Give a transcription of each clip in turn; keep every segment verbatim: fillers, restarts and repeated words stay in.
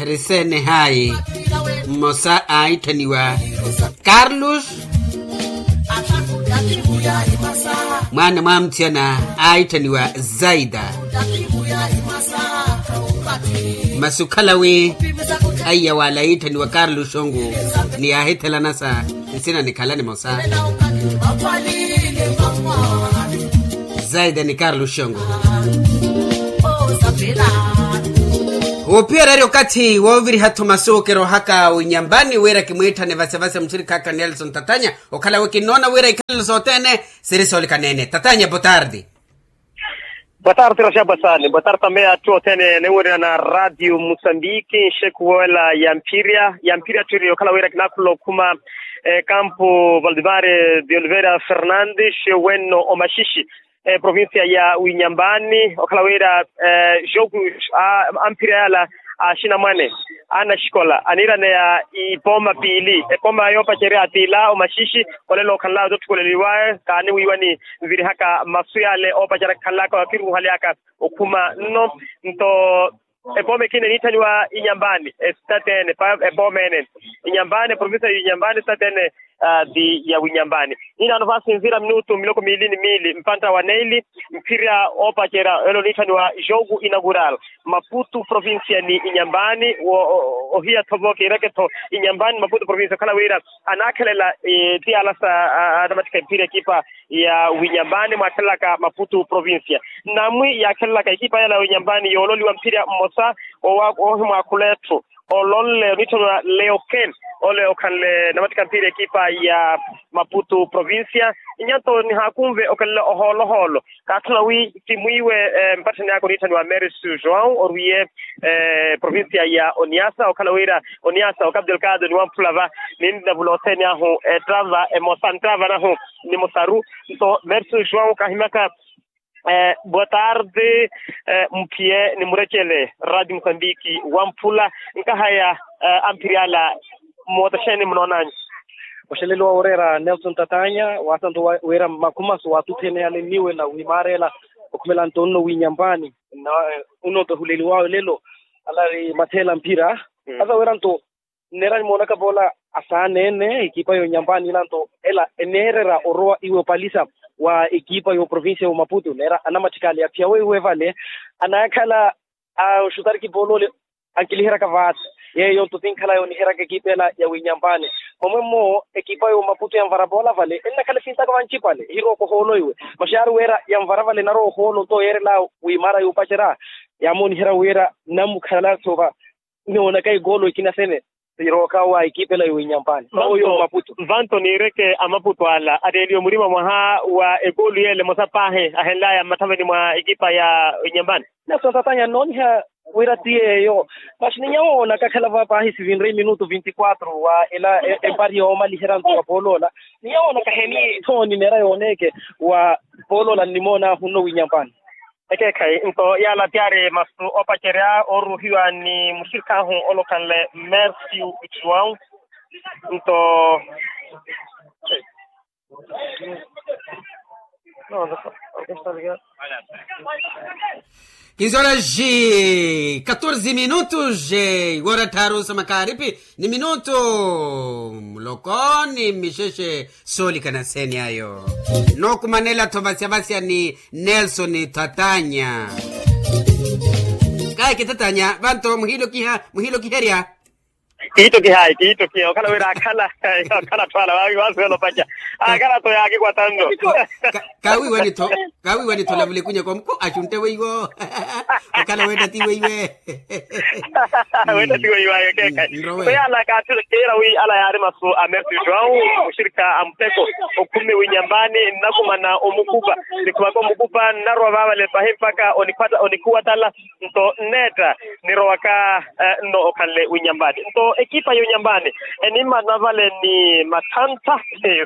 Risene hayi. Mmosa aitthaniwa karlus. Mwaana mwa mutthiyana aitthaniwa zaida. Masi okhala wi aiya wala aiitthaniwa karlus ongu ni yaahithelana sa nsina nikhala nimosa. Zaida ni karlu xongo. Ophiyererya okathi wooviriha-tho masu kirohaka winyambani wira kimwiitthane vasevase muxirikhaaka nelson tatanya. Okhala wi kinnoona wira ikhalelo sothene siri soolikaneene tatanya botardi. Botardi raxapasani botardi tambe atthu othene niwirina na radio musambiki nxekuwela ya mpirya ya mpirya atthu iri okhala wira kinakhula okhuma ekampu valdemar de oliveira fernandes wenno omaxixi provincia ya winyambani okhala wira joku amphirya yala axinamwane anaxikola aniiraneya ipooma piili epooma yoopacerya tiila omaxixi olelo okhanlaya ototthukuleliwawe kaaniwiiwani nvirihaka masu yale oopacerya khanlaka wakiruuhalyaka okhuma nno nto epooma ekina eniitthaniwa inyambani esitateene epooma ene inyambani provincia ya inyambani esitateene ti ya winyambani inaano vaasinzira minutu miloko miili ni miili mpantta wa neili mphirya oopacerya elo oniitthaniwa jogu inagural maputu provincia ni inyambani ohiya-tho vo kiireke-tho inyambani maputu provincia okhala wira anaakhelela ti ala sa anamatthika mphirya ekipa ya winyambani mwaakhelelaka maputu provincia namwi yaakhelelaka ekipa yala ya winyambani yoololiwa mphirya mmosa oohimwaakhula etthu olonle oniitthaniwa leoken ole okhanle namatthika mphirya ekipa ya maputu provincia nyanto nihaakunve okelela ohoolo-hoolo kaatthuna wi ti mwiiwe mpatthani aka oniitthaniwa mercio joão orwiye provincia ya oniasa okhala wira oniasa okapu delgado ni wamphula va ninavula othene ahu etrava emosa ntrava nahu ni musaru nto mercio joão kaahimyaka boa tarde muphiye ni murecele radio musambiki wamphula nkahaya amphiri ala moota xeeni munoonanyu oxelelo wa woreera nelson tatanya waasanto wira makhumaso waatutthene ale nniwe na wiimaarela okhumela nto onno wiinyambani onno okehuleliwawe lelo alari matheela mphira asa wira nto nneera nimoonaka poola asaaneene ekipa yooinyambani ila nto ela eneererya orowa iwe opalisa wa ekipa yooprovincia yoomaputu neera anamatthikaali aphiya weiwe vale anaakhala anxutariki pooloole ankiliheryaka vaasi yeeyo nto sinkhala yooniheryaka ekipa ela ya wiinyambani omwe mmo ekipa yoomaputu yanvara poola vale ennakhala esiintaka vancipale ehirooka ohoolo iwe masi yaari wira yanvara vale enarowa ohoolo nto yeerela wiimaara yoopacerya yaamooniherya wira nnamukhala soova ninoonaka ekoolo ekina sene sirooka wa ekipa ela yooinyampani oyo maputu vanto niireke amaputu ala ateeliwe murima mwaha wa ekoolo yeele emosa paahi ahenlaya mmathaveni mwa ekipa ya inyampani nelson tatanya nnooniha wira ti yeeyo masi ninyawoona kakhala va paahi sivinre minutu vinti quatro wa ela empari yoomaliherya nto wa pooloola ninyawoona kaheni thooni neera yooneeke wa pooloola nnimoonaahu nno winyampani ekeekhayi nto yaala ti ari masu oopacerya ooruuhiwa ni muxirikhahu olokhanle mercio joão nto kinzora ji katorze minutos iwora tthaaru sa makhaaripi ni minutu muloko ni mixexe soolikana seeni ayo nookumanela-tho vasyavasya ni nelson thatanya kahi kithatanya vanto muhiilokiha muhiilokiherya kiittokihayi kiittokiha okhala wira akhala akhala atthu ala waawi waasuwela opaca akhala-tho yaakikwata nno kawiiwani-tho kawiiwani-tho lavula ekunya komuku axuntte weiwo okhala weetta ti weiwe weetta ti weiwayo keekhayi so yaala kaatthu kiira wi ala yaari masu a mercio joão muxirikha a muteko okhumi winyambani nnakumana omukupa nikhumaka omukupa nnarowa vaavale pahi mpakha onikhuwatala nto nneetta nirowaka nno okhanle winyambani nto ekipa yonyambani enimmana vale ni matthantha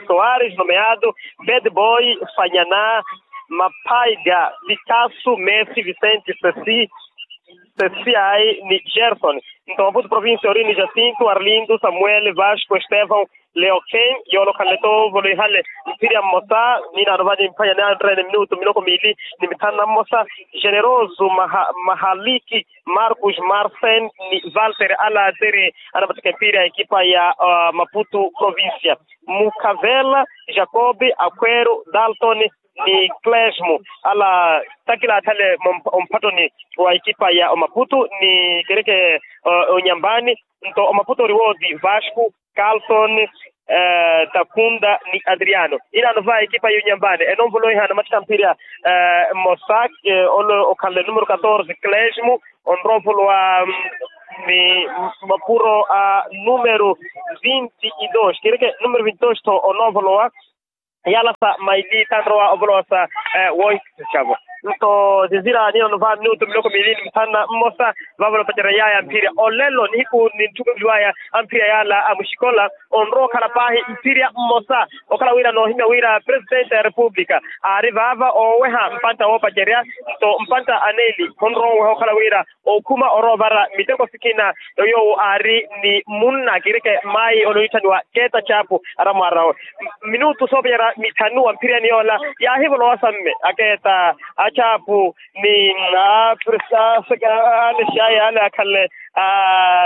soares nomeado bad boy fanyana maphaiga pikasu messi vicente sesi sesiai ni gerson Nto maputu provincia ori ni jacinto arlindo samuel vasco estevão, leoken, yoolokhanle toovolo ihale mphirya mmosa. Ninaano vani mphwanya ni anrene minutu miloko miili ni mithanu na mmosa. Generoso mahaliki, marcos marcen, ni valter alazere, anamattaka mpira ya ekipa ya maputu provincia. Mukhavela, jacob, aquero, dalton, ni clesmo, ala takila athale omphattoni wa ekipa ya omaputu ni kereke onyambani. Nto omaputu ori wooti vasco, carlton, takunda ni adriano. Inaano va ekipa ya onyambani enonvoloiha anamattaka mphirya mmosa, ole okhanle numero catorze clesmo, onroovolowa ni mapuro a numero vinti dos kereke numero vinti dos tho onoovolowa. Yala sa maili tanrowa ovolowa sa wohikisa cavo. Nto zizira nino nova minutu miloko miili ni mithanu na mmosa. Vavo nopacerya yaya mphirya olelo nihiku nintthukuliwaya amphirya yala amuxikola. Onrowa okhala paahi mphirya mmosa okhala wira noohimya wira presidente ya repupulika aari vaava ooweha mpantta woopacerya. Nto mpantta aneeli khonrowa oweha okhala wira okhuma oroovara miteko sikina. Yoowo aari ni munna kireke mayi onooitthaniwa keeta chapu aramwarao. Minutu soopeyera mithanu wa mphiriyani yoola yaahivolowa samme akeeta achapu ni apresaseka. Alexaye ale akhanle a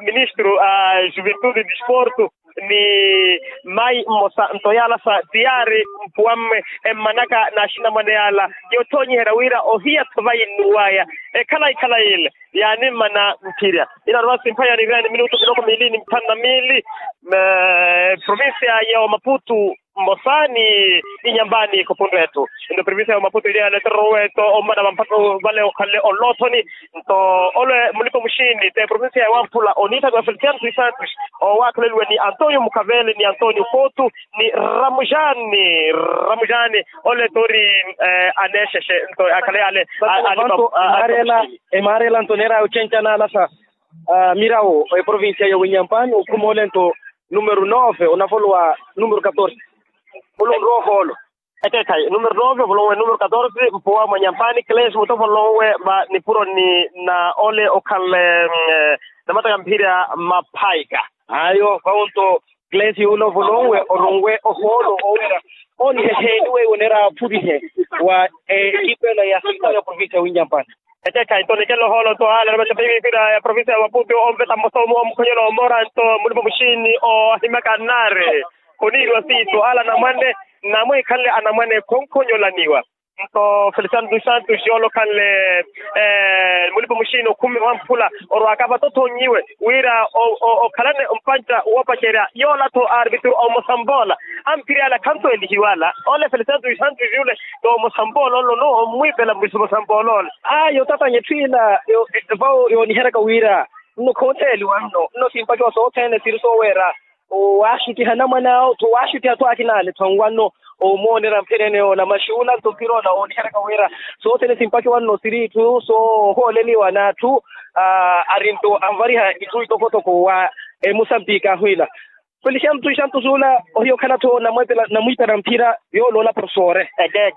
ministro a juventude disporto ni mayi mmosa nto yaala sa tiyaari mpuwamme emmanaka n'axinamwane yaala yothoonyiherya wira ohiya-tho vayinnuwaya ekhalayi-khalayi ile yaanimmana mphirya. Inaano va simphwanya niiriyani minutu miloko miili ni mithanu na miili. Provincia ya omaputu mmosa ni inyambani khupunre etthu. Nto provincia ya omaputu ili ya letero weto ommana vamphatto vale okhanle onloothoni. Nto ole mulipa muxini te provincia ya wamphula oniitthaniwa feliciano sisantos, owaakhaleliwe ni antonio mukhavele ni antonio kotu ni ramujani. Ramujani ole tori aneexexe nto akhale ale. Emarela nto neera ochenchana alasa mirawo eprovincia ya winyampani okhuma ole nto numero nove onavolowa numero catorze. Olo nrowa ohoolo. Ekeekhayi numero nove ovolowe numero catorze mpuwa mwa nyampani clesmo tovolonwe va nipuroni na ole okhanle namataka mphirya maphaika. Ayo vawo nto clesmo yuula ovolonwe oronwe ohoolo owira oniheheniwe iwo neera aphurihe wa ekipa ela ya sita ya provincia ya winyampani. Ekeekhayi nto nikela ohoolo nto ale namataka mpira ya provincia ya maputu onveta mmosa omukhonyela omora nto mulipa muxini ohimaka nnaari. Khoniiriwa siitu ala anamwane namwekhanle anamwane khonkhonyolaniwa. Nto feliciano dos santos yoolokhanle mulipa muxini okhumi wamphula orwaaka vatothonyiwe wira okhalane mpantta woopacerya yoola-tho arbitru omusamboola. Amphirya ala khanto elihiwala ole feliciano dos santos yule. Toomusamboola olo no ommwiipela mwiso musamboola ole. Ayo tatanye etthu ila vawo yooniheryaka wira nno khooteeliwa nno nno simpakiwa sothene siri sooweera owaaxutiha anamwane awo tho owaaxutiha tho akina ale tho anwanno omoonerya mphenene yoola maxuula nto mpira ola ooniheryaka wira sothene simpakiwa nno siri itthu soohooleliwa n'atthu ari nto anvariha itthu itokotoko wa emusambiki ahwiila feliciano dos santos ula ohiya okhala-tho namwiipela mphira yoola ola profesore.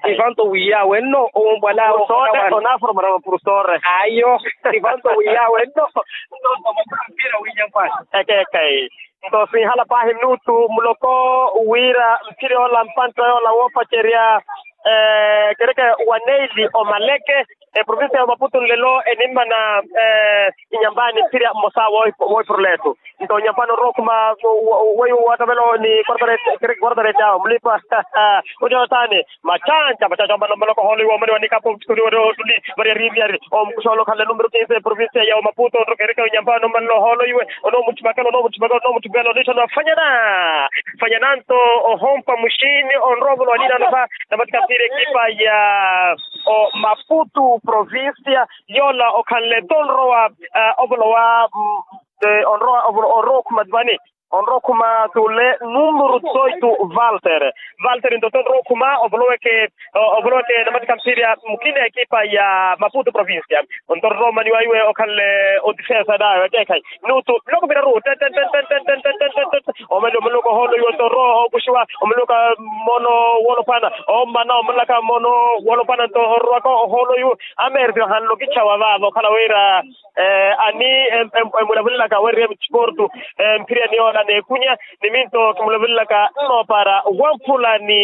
Evanto wiiya wenno owombwala onaaforomorama profesore ayo. Evanto wiiya wenno nto mpira wiinyampa. Ekeekhayi nto sinhala paahi minutu muloko wira mphira yoola mpantta yoola woopacerya kereke wa neili omaleke eprovincia ya omaputu nlelo enimmana inyambani mphirya mmosa woohipuruletu. Nto nyampani onrowa okhuma weiwo waatavelo ni quartarete awo mulipa ojonathani machancha machancha ombana ommaloko ohoolo iwe omani wanikapa omutthuni wari otuli vari ariiriyari omukuxa olokhanle numero kinse provincia ya omaputo onrokereke onyampani ommanle ohoolo iwe onoomutthipakela onoomutthipakela onoomutthipakela oniittha ni wafanyana. Fanyana nto ohompa muxini onrowa ovolowa niinaano va namatika mphira ekipa ya omaputu provincia yoola okhanle tonrowa ovolowa onrowa ovolowa onrowa okhuma vani. Onrowa okhuma t'ule numuru dezoito, valter. Valter nto onrowa okhuma ovoloweke, ovoloweke namattikha mphirya mukina ekipa ya maputo provincia. Onto onrowa omani waiwe okhanle odifensa nawe ekeekhayi. Minutu miloko miraru. Omani omuluka ohoolo iwe onto onrowa okuxiwa omuluka. Mmono woolophana omana omulaka mmono woolophana nto onrowaka ohoolo iwe. Amerti ohanle okichawa vaava okhala wira ani emulavulelaka weriye mutiportu. Mphirya niyoola neekunya ni minto kimulavulelaka nnoopara wamphula ni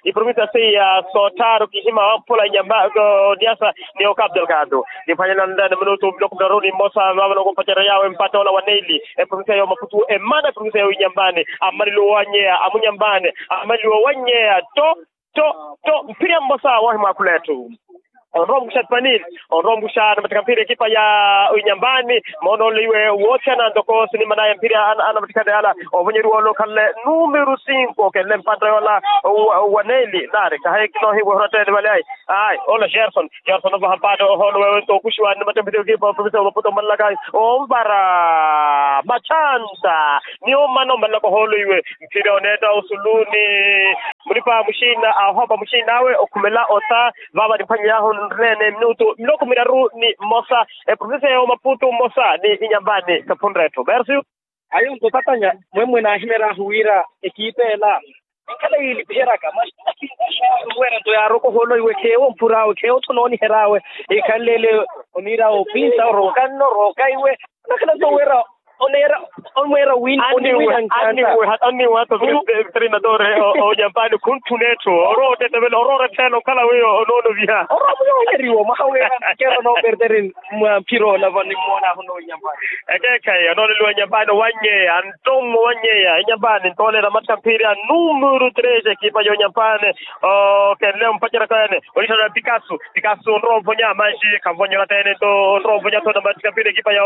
iprovinsiya seiya soottharu kihima wamphula inyamba oniasa ni okapu delgado. Niphwanyana nlani minutu miloko miraru ni mmosa vaavano kumpacerya yaawe mpata ola wa neili. Eprovinsiya ya omaputu emana eprovinsiya ya inyambani. Amalilo wanyeya amunyambani. Amalilo wanyeya to to to mphirya mmosa woohimwaakhula etthu. Onrowa omukuxa tupani. Onrowa omukuxa namattikha mphirya ekipa ya inyambani. Moonole iwe woothiyana ntoko sinimana ya mphirya anamattikhana yala. Ovonyeriwa ole okhanle numero sinko kenle mpata yola wa neili nari kahayi kinoohiwa ehuratteni vale ayi. Ayi ole gerson. Gerson ovaha mpata ohoolo wewe nto okuxiwa namattikha mphirya ekipa ya oprovinsiya ya omaputu omalelaka ayi onvara matthanta. Ni omana omalelaka ohoolo iwe. Mphirya oneetta osulu ni mulipa muxiina ahopa muxiin'awe okhumela ota. Vaava nimphwanyey'ahu nreene minutu miloko miraru ni mmosa. Eprovinsiya ya omaputu mmosa ni inyambani kaphunre etthu merci. Ayo nto tatanya mwemwe naahimery'ahu wira ekipa ela enkhala yiilipiheryaka masi. Wira nto yaaroka ohoolo iwe kheewo mpur'awe kheewo tho noonihery'awe. Ekhanle ele oniira opinsa oroka nno oroka iwe. Onakhala nto wira oneera omweera wini oniwira nkanta. Aniwe hata oniwe hata vire veterinadore. Onyambani khunthuna etthu orowa otetevela orowa orettela okhala wiyo onoonoviha. Orowa muyo onyeriwa mwaha wira nkero nooperteri mwa mphira ola vano nimmoon'ahu noonyambani. Ekeekhayi onooneliwa nyambani owanyeya nto mmowanyeya inyambani nto oneera mattikha mphirya numero tres ekipa ya onyambani. Okenle ompacerya kaene. Onitthana pikasu pikasu onrowa onvonya manji khanvonya orattene nto onrowa onvonya tho namattikha mphirya ekipa ya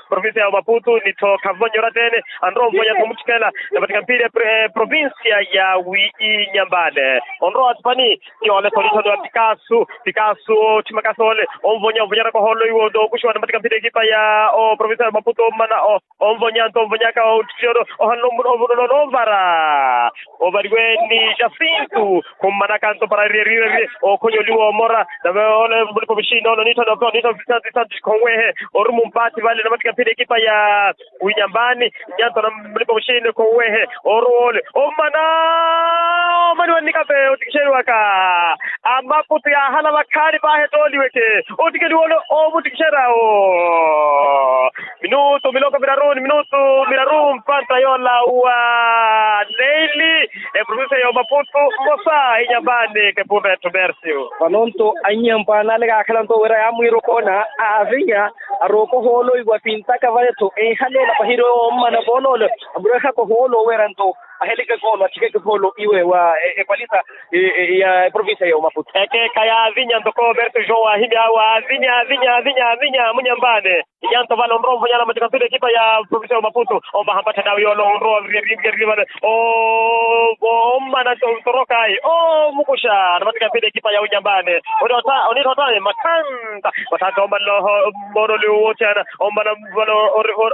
provinsiya ya omaputu ni tho khanvonya orattene. Anrowa onvonya tho mutthikela namattikha mphirya provinsiya ya wi inyambani. Onrowa atupani. Yoole tho onitthana pikasu pikasu otthimaka soole onvonya onvonyaraka ohoolo iwo nto okuxiwa namattikha mphirya ekipa ya oprovinsiya ya omaputu ommana. Onvonya nto onvonyaka ottiyono ohanle omuno omuno noonvara. Ovariwe ni jacinto khummanaka nto para eriyeriyerye okhonyoliwa omora nave ole mulipa omuxiina ole oniitthana ope oniitthana ofisanto isanto khonwehe. Orumu mpathi vale namattikha mphirya ekipa ya winyambani. Nyanto na mulipa omuxiina khonwehe oruwa ole ommana. Omaniwa nnikape otikixeriwaka amaputu yaahala vakhaani paahi ettooliweke. Otikeliwa ole omuttikixerya awo. Minutu miloko miraru ni minutu miraru mpanta yoola wa neili. Eprovinsiya ya omaputu mmosa inyambani kepunre etthu merci. Vano nto annyambo anale kaakhala nto wira yaamwiira okoona aavinya arooka ohoolo iwe apintaka vale tho enhaleela pahiri ommana vooloole. Amureehaka ohoolo wira nto aheleke koolo atthikeke koolo iwe wa ekwalisa ya eprovinsiya ya omaputu. Ekeeka yaavinya ntoko berto joão waahimya awe aavinya aavinya aavinya aavinya amunyambane. Inyanto vale onrowa onvonyana mattikha mphirya ekipa ya provinsiya ya omaputu. Ovaha mpatthana awe yoole onrowa viriya viriya vale. Ommana nto ntorokayi omukuxa namattikha mphirya ekipa ya unyambane. Oniittha otaye matthanta matthanta ommanla. Mmoonole woothiyana ommanla vale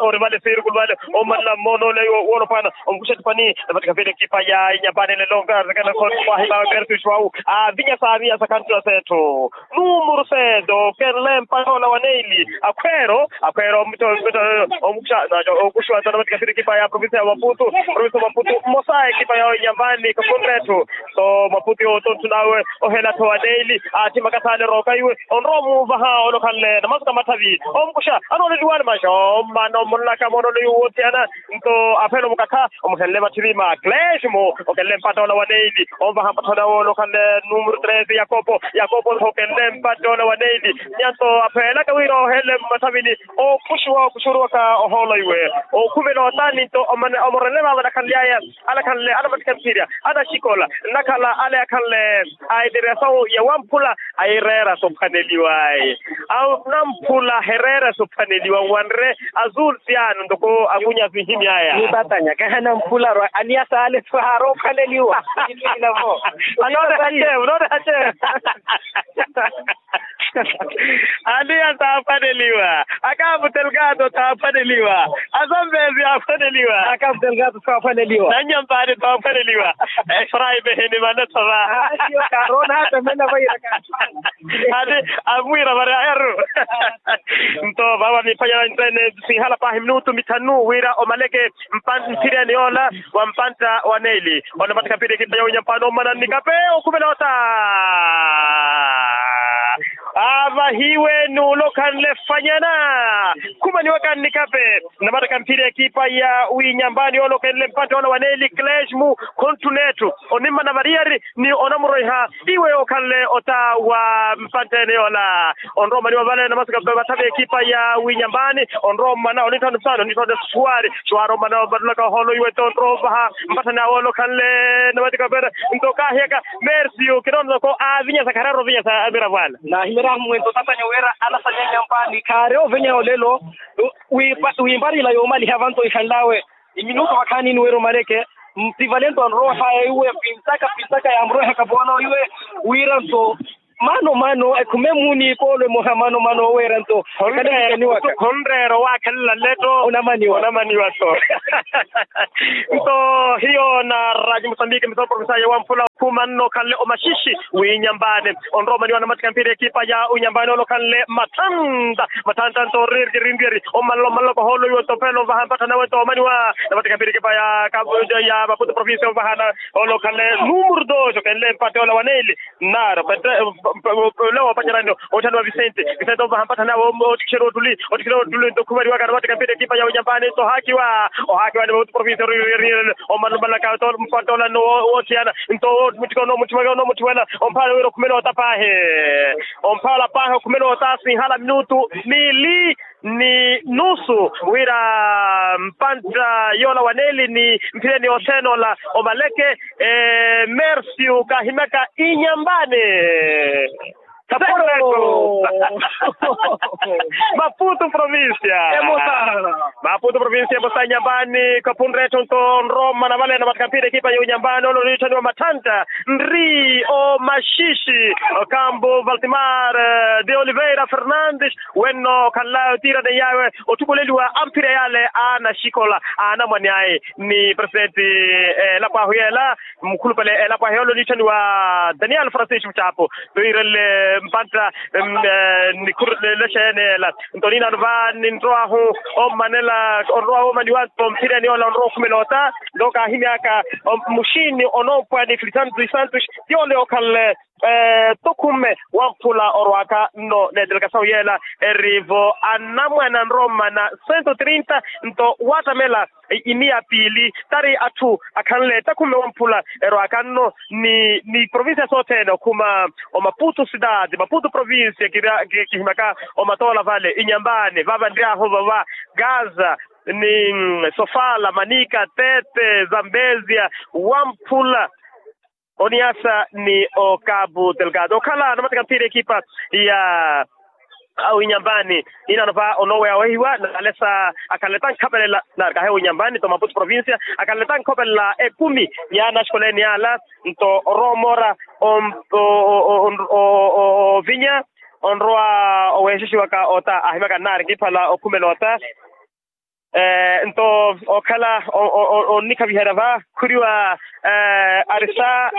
ori vale sirikulu vale ommanla mmoonole woolophana. Omukuxa etupani namattikha mphirya ekipa ya inyambane lelo nkartekana khootikwahima berto joão. Aavinya saavinya sakhanttula seethu numuru seeto kenle mpata ola wa neili. Akhweero akhweero omukuxa okuxiwa nto namattikha mphirya ekipa ya provinsiya ya omaputu. Provinsiya ya omaputu mmosa ekipa ya inyambane kakhunre etthu. Nto maputi otonthun'awe ohela-tho wa neili aatthimaka saana erooka iwe onrowa omuuvaha olokhanle namasuka matthavi. Omukuxa anooleliwani manxa ommana omulaka moonole yuwo othiyana. Nto aphela omukakha omuhenle matthiri ma clesmo okenle mpatta ola wa neili. Omuvaha mpatta ola olokhanle numero tres yakopo yakopo okenle mpatta ola wa neili. Nyanto aphelaka wira ohenle mmatthavini. Okuxiwa okuxuruwaka ohoolo iwe okhumela otani nto omorele vaava anakhanly'aya. Alakhanle anamattikha mphirya anaxikola nnakhala ale akhanle a eteresawu ya wamphula ayireera sophwaneliwa. Anamphula hereera sophwaneliwa nwanre azul siano ntoko angunya sinhimy'aya. Nipatanya kahanamphula ro aniya saale so haaroophwaneliwa. Anoore hache anoore hache. Aniya saaphwaneliwa. Kapu telgado taaphwaneliwa. Asambezi yaaphwaneliwa. Kapu telgado taaphwaneliwa. Nanyampani taaphwaneliwa. Efraime heni manatho va. Karoona hata mena vaira. Ati amwira vari ayaru. Nto vava miphwanyana nttene sinhala pahi minutu mithanu wira omaleke mphireni yoola wa mpantta wa neeli. Onamatikha mpira ekipa ya unyampani omana nnikape okhumela ota. Avahiwe n'ule okhanle fanyana. Khumaniwaka nnikape. Namatikha mpira ekipa ya winyambani yoolokhenle mpantte ola wa neeli klesmu. Khonttuna etthu onimmana variyari ni onamuroiha. Iwe okhanle ota wa mpantte ene yoola. Onrowa omaniwa vale namasika vathavi ekipa ya winyambani. Onrowa omana onitthana suwari onitthana suwari suwari omana omatulaka oholoiwe tonrowa ovaha. Mpatthani awe olokhanle namatikha opera. Nto kaahiyaka mersiu kinoonaka avinyasa kharari ovinyasa amiravo ala. Naahimery'ahu mwento tatanyo wira anasanya nyampani khaari ovenya olelo. Wimparila yoomaliha vanto ikhanl'awe. Iminutu vakhaani ni wira omaleke. Mpivalento anroha iwe pintaka pintaka yamrohaka voona iwe wira nto. Mano mano ekhume muuni ikoolo emoha mano mano oweera nto. Khonreera owaakhalela nletto onamaniwa onamaniwa so. Nto hiyo na raji musambiki misoro profesa ya wamphula. Khuma nno okhanle omaxishi winyambani onrowa omaniwa namatikha mpira ekipa ya unyambani ole okhanle mathanta mathanta nto ririkirintiyeri omalala omalala kohoolo iwe nto phela ovaha mpatthana awe nto omaniwa namatikha mpira ekipa ya maputo provincia ovahana. Ole okhanle numuru dos okhenle mpatte ola wa neeli. Nnaro pete ole woopacerani otthani wa visente. Visente ovaha mpatthani awe ottikixeriwa ottuli ottikixeriwa ottuli nto khumariwaka namatikha mpira ekipa ya unyambani nto ohaakiwa. Ohaakiwa ni maputo provincia omalala omalala ka nto mpatte ola nno woothiyana. Nto owo mutthikana owo mutthi wela omphaala wira okhumela ota paahi. Omphaala paahi okhumela ota sinhala minutu niili ni nusu wira mpantta yoola wa neeli ni mphireni othene ola omaleke. Mersiu kaahimyaka inyambani. Maputo provincia. Maputo provincia emosa inyambani kapunretthu nto nroma na vale namatikha mpira ekipa ya unyambani ole oniitthaniwa mathanta nri omaxishi. Okambo valtimar de oliveira fernandes wenno okhanlawe otiiraneyawe otthukuleliwa amphira yale a anaxikola a anamwane aye ni presidenti elapo ahu yela. Mukhulupale elapo ahu yela oniitthaniwa daniel francisco chapo. Toirenle mpantta nikhuru nelexa yeneela. Nto niinaano va ninrow'ahu ommanela onrowa woomaniwa nto mphireni yoola onrowa okhumela ota. Nto kaahimyaka muxiini onoompwa ni filisantus isantus yoole okhanle tokhumme wamphula orwaka nno neeteleka sawu yeela. Eri-vo anamwane anrommana sento trinta nto waattamela imiya piili tari atthu akhanle takhumme wamphula erwaka nno ni ni provincia sothene okhuma omaputo cidade maputo provincia kihimyaka omatoola vale inyambani vaava nry'ahu vava gaza ni sofala manika tete zambezia wamphula oniasa ni okapu telgado okhala anamatika mphira ekipa ya awinyambani. Inaano va onooweya owehiwa naalesa akhanle tankhapelelana kahe winyambani nto maputo provincia akhanle tankhapelelana ekumi ya anaxikola ene ala nto oroomora ovinya onrowa oweexixiwaka ota ahimyaka nnaari nkiphala okhumela ota. Nto okhala onnikhaviherya va khuriwa arisa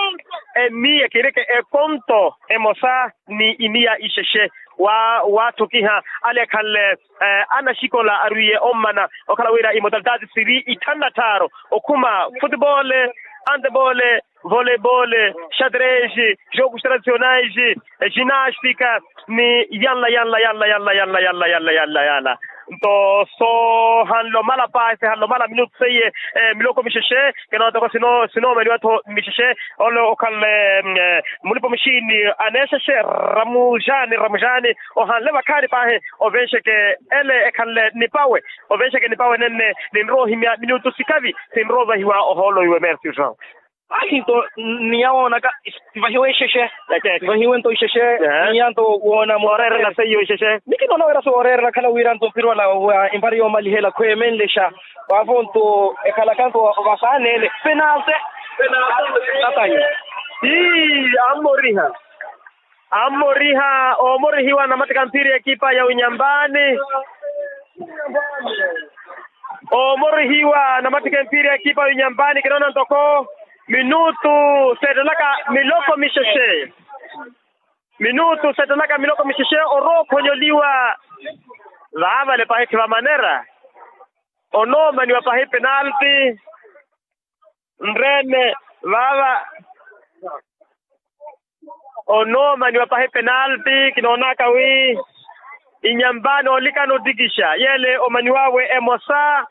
emiya kireke ekonto emosa ni imiya ixexe wa waathukiha ale ekhanle anaxikola arwiiye ommana okhala wira imodalitaati siri itthanu na tthaaru okhuma futebole antebole voleibole xadrese jokus tradicionais ginastika ni yanla yanla yanla yanla yanla yanla yanla yanla yanla. Nto soohanle omala paahi sihanle omala minutu seiye miloko mixexe kinoona toko sinoomeliwa-tho mixexe ole okhanle mulipa muxiini aneexexe ramujani ramujani ohanle vakhaani paahi ovenxeke ele ekhanle nipawe ovenxeke nipawe nenne ninrowa ohimya minutu sikavi sinrowa ovahiwa ohoolo iwe mersi joão. Ahi nto niya woonaka sivahiwe exexe sivahiwe nto ixexe niya nto woona mooreerela seiyo ixexe. Nikinoona wira sooreerela khala wira nto mphirwala wa empari yoomalihela khweemenlexa vaavo nto ekhalaka nto vasaaneele penase. Tatanyi ii ammoriha ammoriha oomorihiwa namatika mphiri ekipa ya unyambani. Omorihiwa namattikha empiira ya ekipa ya inyambani kinoona ntoko minutu seettelaka miloko mixexe. Minutu seettelaka miloko mixexe orookhonyoliwa. Vaavale pahi khiva manera onoomaniwa pahi penalti. Nreene vaava onoomaniwa pahi penalti kinoonaka wi inyambani olikana otikixa yeele omaniwawe emosa.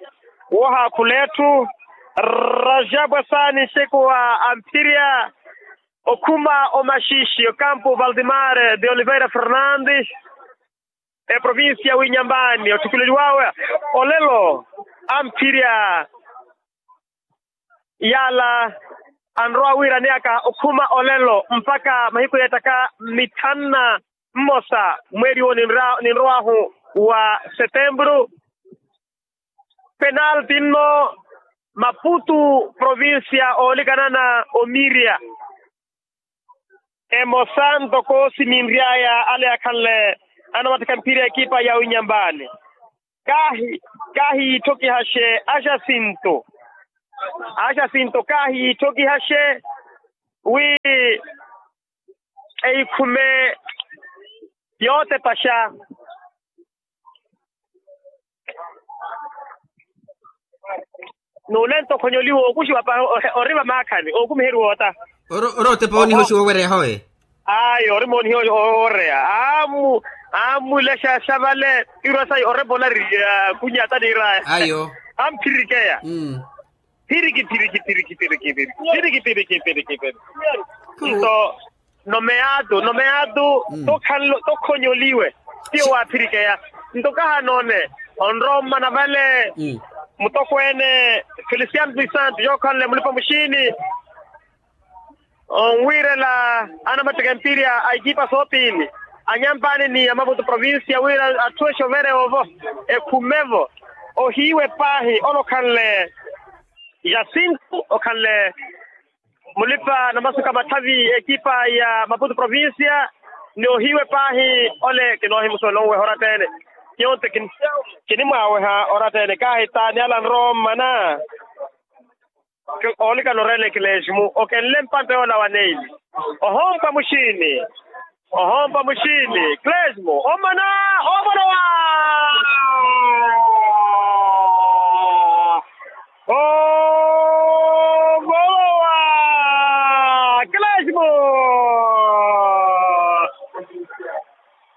Woohaakhula etthu rajabu asaani nxekuwa amphirya okhuma omaxiixi okampu valdemar de oliveira fernandes. Eprovincia winyambani othukuleliwawe olelo amphirya yaala anrowa wiiraneyaka okhuma olelo mpakha mahiku yeettaka mithanu na mmosa mweeri wo ninrow'ahu wa setempuru. Penalti nno maputu provincia oolikana na omiria. Emosa ntoko siminry'aya ale akhanle anamattikha mpiira ya ekipa ya winyambani. Kaahi kaahi yiitthokihaxe a jacinto. A jacinto kaahi yiitthokihaxe wi eyikhume yootepaxa. N'ulento okhonyoliwa ookuxiwa pahi ori vamaakhani ookumiheriwa ota. Ori otepa onihoxiwa owereya howe. Ayo ori moonihiwa owereya amu amulexa xa vale. Irwa sayi orepolari kunyata niiraya ayo. Amphirikeya phiriki phiriki phiriki phiriki phiriki phiriki phiriki phiriki. Nto nomeyaatu nomeyaatu tokhonle tokhonyoliwe. Tiyo waaphirikeya nto kahanoone onrowa ommana vale. Mutokweene feliciano dos santos yookhanle mulipa muxiini onwiirela anamattika empiirya a ekipa soopiini anyampaani ni amaputu provincia wira atthu exovereya ovo ekhumevo ohiiwe paahi ole okhanle jacinto okhanle mulipa namasuka mathavi ekipa ya maputu provincia ni ohiiwe paahi ole kinoohimusuwela onweha oratta ene. Nyonte kinimwaaweha oratta ene kaahitaani ala nrowa ommana. Oolikana oreela ekilesimu okenle mpanto yoola wa neili. Ohompa muxiini. Ohompa muxiini kilesimu omana. Ovolowa.